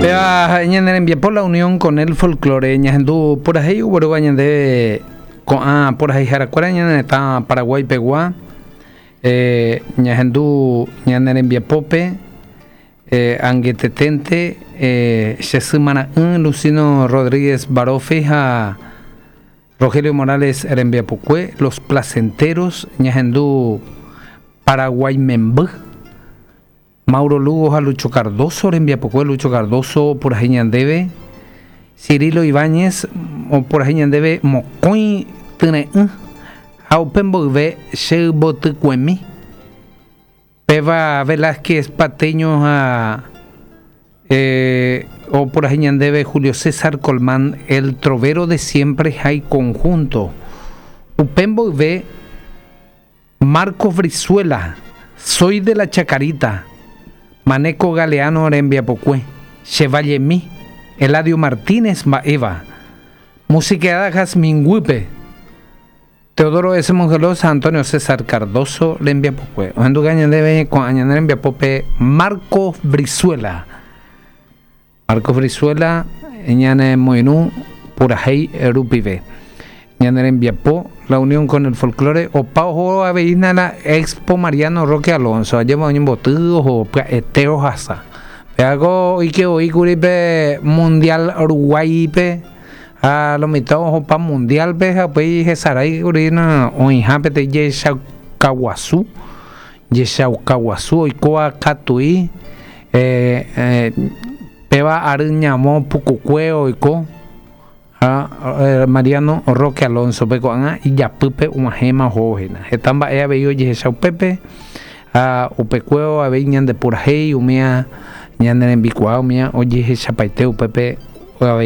Péva ñane rembiapo La Unión con el Folklore ñahendu purahéi oguerúva ñande ko'ã puraheiharakuéra ñane retã Paraguái pegua eh, ñahendu ñane rembiapópe eh, angeteténte eh, che sy mara'ỹ Lucino Rodríguez Baroffi ha Rogelio Morales rembiapokue Los Placenteros ñahendu Paraguái memby Mauro Lugo ha Lucho Cardozo rembiapokue Lucho Cardozo opurahéi ñandéve Cirilo Ibáñez opurahéi ñandéve mokõi tyre'ỹ ha upe mboyve che yvotykuemi péva Velázquez Pateño ha opurahéi ñandéve Julio César Colmán El Trovero de Siempre ha iconjunto upe mboyve Marcos Brizuela, Soy de la Chacarita, Maneco Galeano rembiapokue, Che Vallemi, Eladio Martínez mba'éva, Musiqueada Jazmín guýpe, Teodoro S. Mongelós ha Antonio César Cardozo rembiapokue. Ohenduka ñandéve ko'ã ñane rembiapópe Marcos Brizuela. Marcos Brizuela ñanemoirũ purahéi rupive. Ñane rembiapo La Unión con el Folklore opa oho avei hína la Expo Mariano Roque Alonso, ajépa oñemboty oho pya'ete ohasa. Péva ko oike voi kuri pe Mundial Uruguáipe ha lo mitã ohopa Mundial-pe ha upéi hesarái kuri hína oĩha peteĩ jechauka guasu, jechauka guasu oikóva katui Péva ary ñavõ pukukue oiko ha Mariano Roque Alonso-pe ko'ág̃a ijapýpe og̃uahẽma ohóvo hína. Heta mba'e avei ojehecha upépe ha upekuévo avei ñande purahéi umíva ñane rembikuaa umíva ojehechapaite upépe avei.